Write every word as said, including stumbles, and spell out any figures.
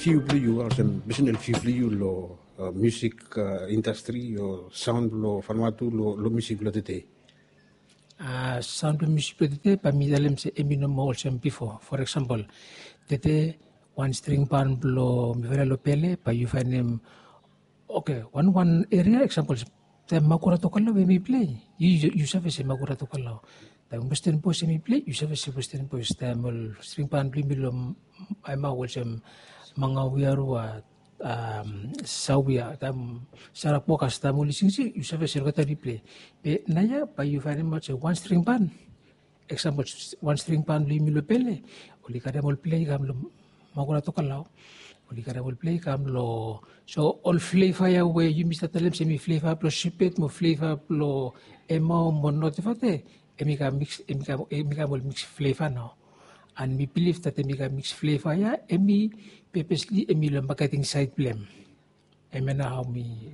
View blong yu, olsem personal view blong yu long musik indastri o saun blong Vanuatu long musik blong tede? Saun blong musik blong tede, bae mi talem se em i no moa olsem bifo. For example, tede wan string ban blong mifala long pele, bae yu faenem, oke, wan wan eria, example, taem Makura Tokelau em i plei, yu save se Makura Tokelau. Taem Western Boys em i plei, yu save se Western Boys. Taem ol string ban blong yumi long Aemau, olsem Mangawiarua, Sawia, taem Sarapokas, taem oli singsing, yu save se olgeta oli plei. Be naoia bae yu faenemaot se wan string ban, example, wan string ban blong yumi long pele, oli karem ol plei i kam long Makura Tokelau, oli karem ol plei i kam long, so ol fleva ia we yumi save talem se em i fleva blong Sipet mo fleva blong Aemau mo Notevate, em i kam miks, em i kam ol miks fleva nao. And mi bilif that em i kam miks fleva ia em i pepesli em i long maketing saed blong em. Hemia nao hao mi